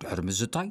ድሕሪ ምዝታይ፣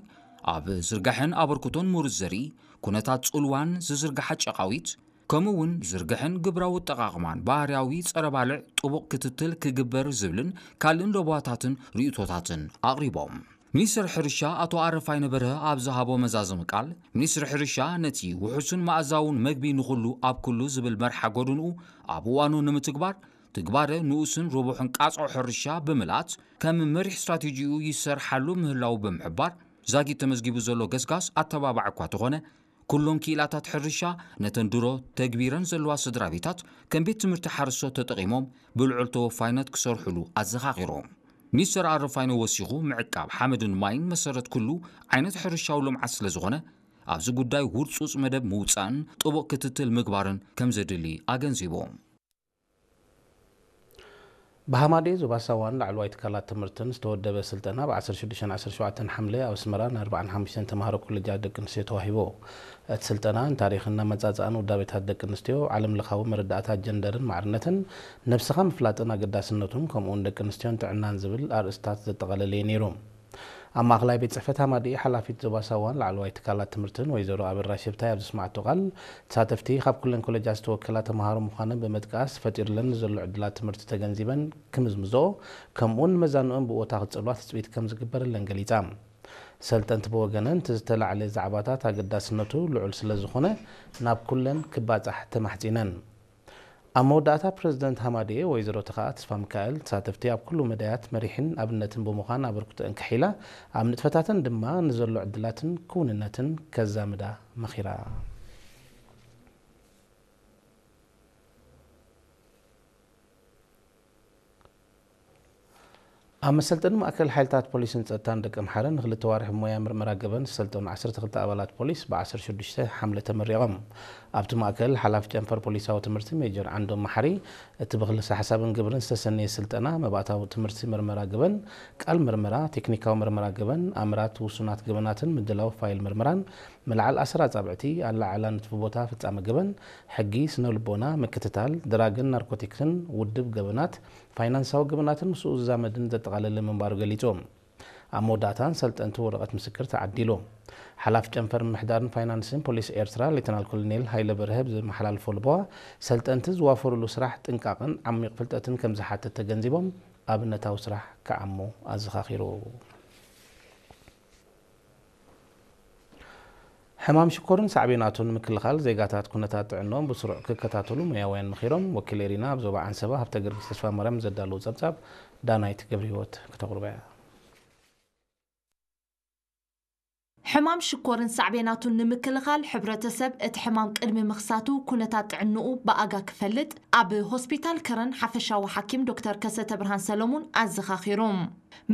ኣብ ዝርጋሐን ኣበርክቶን ምሩጽ ዘርኢ፣ ኩነታት ጽልዋን ዝዝርግሓ ጨቓዊት፣ ከምኡ እውን ዝርግሐን ግብራዊ ኣጠቓቕማን ባህርያዊ ጸረ ባልዕ ጥቡቕ ክትትል ክግበር ዝብልን ካልእን ለበዋታትን ርእይቶታትን ኣቕሪቦም። ሚኒስትር ሕርሻ ኣቶ ኣረፋይነ በርሀ ኣብ ዝሃቦ መዛዘሚ ቃል፣ ሚኒስትሪ ሕርሻ ነቲ ውሑስን መኣዛውን መግቢ ንኹሉ ኣብ ኩሉ ዝብል መርሓ ጎድንኡ ኣብ እዋኑ ንምትግባር፣ ትግባረ ንኡስን ርቡሕን ቃጽዖ ሕርሻ ብምልኣት ከም መሪሕ ስትራቴጂኡ ይሰርሓሉ ምህላው ብምሕባር፣ ዛጊት ተመዝጊቡ ዘሎ ገስጋስ ኣተባባዕ እኳ ተኾነ፣ ኩሎም ክኢላታት ሕርሻ ነተን ድሮ ተግቢረን ዘለዋ ስድራ ቤታት ከም ቤት ትምህርቲ ሓረስቶት ተጠቒሞም ብልዑል ተወፋይነት ክሰርሑሉ ኣዘኻኺሮም። ሚኒስተር ኣረፋይነ ወሲኹ፣ ምዕቃብ ሓመድን ማይን መሰረት ኩሉ ዓይነት ሕርሻዊ ልምዓት ስለ ዝኾነ፣ ኣብዚ ጉዳይ ውርጹጽ መደብ ምውጻእን ጥቡቕ ክትትል ምግባርን ከም ዘድሊ ኣገንዚቦም። ብሃማዴ ዞባ ሳዋን ላዕለዋይ ትካላት ትምህርትን ዝተወደበ ስልጠና ብ ዓሰርተ ሽዱሽተን ዓሰርተ ሸውዓተን ሓምለ ኣብ ኣስመራ ንኣርባዓን ሓሙሽተን ተምሃሮ ኮሌጃት ደቂ ኣንስትዮ ተዋሂቡ። እቲ ስልጠና ንታሪኽን ኣመጻጽኣን ውዳቤታት ደቂ ኣንስትዮ፣ ዓለም ለኻዊ መረዳእታ ጀንደርን ማዕርነትን፣ ነብስኻ ምፍላጥን ኣገዳስነቱን፣ ከምኡውን ደቂ ኣንስትዮን ጥዕናን ዝብል ኣርእስታት ዘጠቓለለ እዩ ነይሩ። ኣብ ማእኸላይ ቤት ጽሕፈት ሃማደኤ ሓላፊት ዞባ ሳዋን ላዕለዋይ ትካላት ትምህርትን ወይዘሮ ኣበራ ሽብታይ ኣብ ዘስማዕቶ ቃል፣ ተሳተፍቲ ካብ ኩለን ኮሌጃት ዝተወከላ ተምሃሮ ምዃነን ብምጥቃስ፣ ፈጢሩለን ንዘሎ ዕድላት ትምህርቲ ተገንዚበን ክምዝምዝኦ፣ ከምኡውን ንመዛንኦም ብቦታ ክጸልዋ ትጽቢት ከም ዝግበረለን ገሊጻ። ሰልጠንቲ ብወገነን፣ እቲ ዝተላዕለ ዛዕባታት ኣገዳስነቱ ልዑል ስለ ዝኾነ፣ ናብ ኩለን ክባጻሕ ተማሕጺነን። ኣብ መወዳእታ፣ ፕረዚደንት ሃማደኤ ወይዘሮ ተኸኣ ተስፋሚካኤል፣ ተሳተፍቲ ኣብ ኩሉ መዳያት መሪሕን ኣብነትን ብምዃን ኣበርክቶአን ከሒላ፣ ኣብ ንጥፈታተን ድማ ንዘሎ ዕድላትን ክውንነትን ከዛምዳ መኺራ። ኣብ መሰልጠኒ ማእከል ሓይልታት ፖሊስን ጸጥታን ደቂ ኣምሓረ ንኽልተ ኣዋርሕ ሞያ ምርመራ ገበን ዝሰልጠኑ ዓሰርተ ክልተ ኣባላት ፖሊስ ብ ዓሰርተ ሽዱሽተ ሓምለ ተመሪቖም። ኣብቲ ማእከል ሓላፊ ጨንፈር ፖሊሳዊ ትምህርቲ ሜጀር ዓንዶም መሓሪ፣ እቲ ብክልሰ ሓሳብን ግብርን ዝተሰነየ ስልጠና መባእታዊ ትምህርቲ ምርመራ ገበን፣ ቃል ምርመራ፣ ቴክኒካዊ ምርመራ ገበን፣ ኣምራት ውሱናት ገበናትን ምድላው ፋይል ምርመራን፣ ምልዓል ኣሰር ኣጻብዕቲ፣ ኣለዓዕላ ንጥፊ ቦታ ፍጻመ ገበን፣ ሕጊ፣ ስነ ልቦና፣ ምክትታል፣ ድራግን ናርኮቲክስን፣ ውድብ ገበናት፣ ፋይናንሳዊ ገበናትን ምስኡ ዝዛመድን ዘጠቓለለ ምንባሩ ገሊጹ። ኣብ መወዳእታ፣ ንሰልጠንቲ ወረቐት ምስክር ተዓዲሉ። ሓላፊ ጨንፈር ምምሕዳርን ፋይናንስን ፖሊስ ኤርትራ ሌተናል ኮሎኔል ሃይለ በርሀ ብዘመሓላልፎ ልቦዋ፣ ሰልጠንቲ ዝዋፈሩሉ ስራሕ ጥንቃቕን ዓሚቕ ፍልጠትን ከም ዝሓትት ተገንዚቦም፣ ኣብነታዊ ስራሕ ክዓሙ ኣዘኻኺሩ። ሕማም ሽኮርን ሳዕቤናቱን ንምክልኻል ዜጋታት ኩነታት ጥዕንኦም ብስሩዕ ክከታተሉ ሞያውያን መኺሮም። ወኪል ኤሪና ኣብ ዞባ ዓንሰባ ሃብተ ጊዮርጊስ ተስፋማርያም ዘዳለዉ ጸብጻብ ዳናይት ገብረህይወት ክተቕርቦ እያ። ሕማም ሽኮርን ሳዕቤናቱን ንምክልኻል ሕብረተሰብ እቲ ሕማም ቅድሚ ምኽሳቱ ኩነታት ጥዕንኡ ብኣጋ ክፈልጥ ኣብ ሆስፒታል ከረን ሓፈሻዊ ሓኪም ዶክተር ከሰተ ብርሃን ሰለሙን ኣዘኻኺሩ።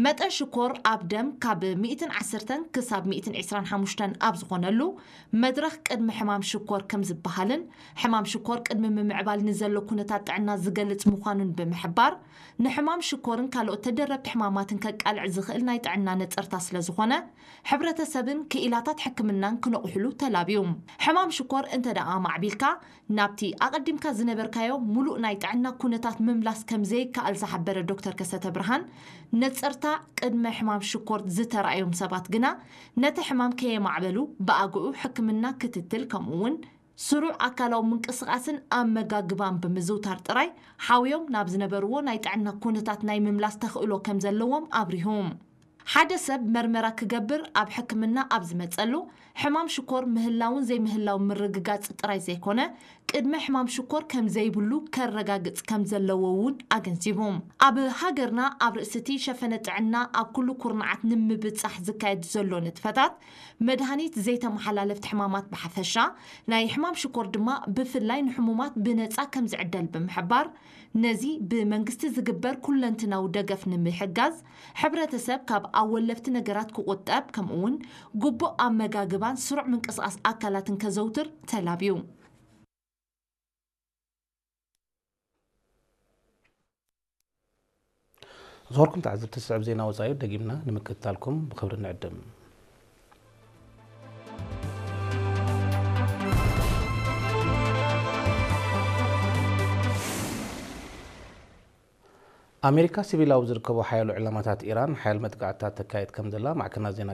መጠን ሽኮር ኣብ ደም ካብ ሚእትን ዓሰርተን ክሳብ ሚእትን ዕስራን ሓሙሽተን ኣብ ዝኾነሉ መድረኽ ቅድመ ሕማም ሽኮር ከም ዝበሃልን ሕማም ሽኮር ቅድሚ ምምዕባል ንዘሎ ኩነታት ጥዕና ዝገልጽ ምዃኑን ብምሕባር፣ ንሕማም ሽኮርን ካልኦት ተደረብቲ ሕማማትን ከቃልዕ ዝኽእል ናይ ጥዕና ነጸርታ ስለ ዝኾነ፣ ሕብረተሰብን ክኢላታት ሕክምናን ክነቑሕሉ ተላብዩ። ሕማም ሽኮር እንተ ደኣ ኣማዕቢልካ፣ ናብቲ ኣቐዲምካ ዝነበርካዮ ምሉእ ናይ ጥዕና ኩነታት ምምላስ ከም ዘይከኣል ዝሓበረ ዶክተር ከሰተ ብርሃን፣ ነጸርታ ቅድመ ሕማም ሽኮር ዝተራእዮም ሰባት ግና፣ ነቲ ሕማም ከየማዕበሉ ብኣግኡ ሕክምና ክትትል፣ ከምኡ'ውን ስሩዕ ኣካላዊ ምንቅስቓስን ኣመጋግባን ብምዝውታር ጥራይ ሓውዮም ናብ ዝነበርዎ ናይ ጥዕና ኩነታት ናይ ምምላስ ተኽእሎ ከም ዘለዎም ኣብሪሁ። ሓደ ሰብ መርመራ ክገብር ኣብ ሕክምና ኣብ ዝመጸሉ፣ ሕማም ሽኮር ምህላውን ዘይምህላውን ምርግጋጽ ጥራይ ዘይኮነ፣ ቅድመ ሕማም ሽኮር ከም ዘይብሉ ከረጋግጽ ከም ዘለዎ እውን ኣገንዚቡ። ኣብ ሃገርና ኣብ ርእሲ እቲ ሸፈነ ጥዕና ኣብ ኩሉ ኩርናዓት ንምብጻሕ ዝካየድ ዘሎ ንጥፈታት፣ መድሃኒት ዘይተመሓላለፍቲ ሕማማት ብሓፈሻ፣ ናይ ሕማም ሽኮር ድማ ብፍላይ ንሕሙማት ብነጻ ከም ዝዕደል ብምሕባር፣ ነዚ ብመንግስቲ ዝግበር ኩለንትናዊ ደገፍ ንምሕጋዝ፣ ሕብረተሰብ ካብ ኣወለፍቲ ነገራት ክቑጠብ፣ ከምኡ'ውን ግቡእ ኣመጋግባን ስሩዕ ምንቅስቓስ ኣካላትን ከዘውትር ተላብዩ። ዝኸበርኩም ተዓዘብቲ፣ ዝስዕብ ዜና ወጻኢ ደጊምና ንምክትታልኩም ብኽብሪ ንዕድም። ኣሜሪካ፣ ሲቪላዊ ዝርከቡ ሓያሎ ዕላማታት ኢራን ሓያል መጥቃዕትታት ተካይድ ከም ዘላ ማዕከናት ዜና